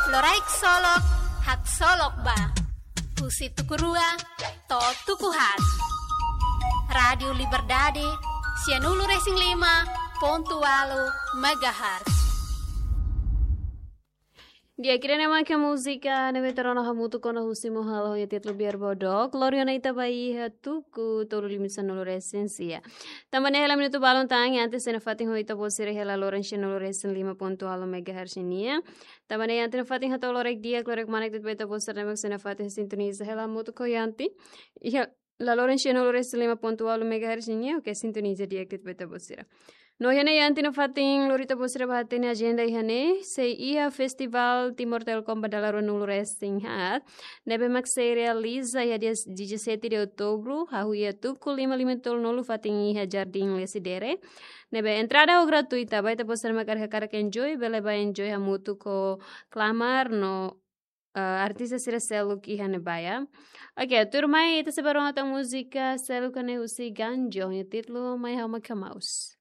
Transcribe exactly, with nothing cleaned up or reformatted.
Loraik Solok, haksolok ba. Husi tuku rua to'o tuku haat. Rádiu Liberdade, sianulu-resin-lima pontu ualu megahertz. Di'ak, ida-ne'e mak múzika ne'ebé ita rona hamutuk ona husi Mo Halo ho títulu Biar Bodoh. Lori ona ita ba iha tuku tolu lima sanulu-resin-sia. Tanba ne'e hela minutu balun tan, antes ita nafatin ho ita-boot sira iha laloran sianulu-resin-lima pontu ualu megahertz nian. Tanba ne'e ita nafatin hato'o loraik di'ak, loraik manek de'it ba ita-boot sira ne'ebé mak sira nafatin sintoniza hela hamutuk ho ita. Iha laloran sianulu-resin-lima pontu ualu megahertz nian, oke, sintoniza di'ak de'it ba ita-boot sira. No iha ne'e ita nafatin lori ita-boot sira ba hatene ajenda iha ne'e, sei iha Festival Timor Telecom ba dala ruanulu-resin-haat, ne'ebé mak sei realiza iha dia dezassete de outubro, hahú iha tuku lima lima tolunulu fatin iha Jardim Lecidere. Ne'ebé entrada ho gratuita, ba ita-boot sira mak hakarak enjoy, bele ba enjoy hamutuk ho Klamar no, eh, artista sira seluk iha ne'ebá. Oke, tuirmai ita sei bá rona tan múzika seluk ne'e husi Ganjo, nia títulu Mai Ha'u Mak Hamaus.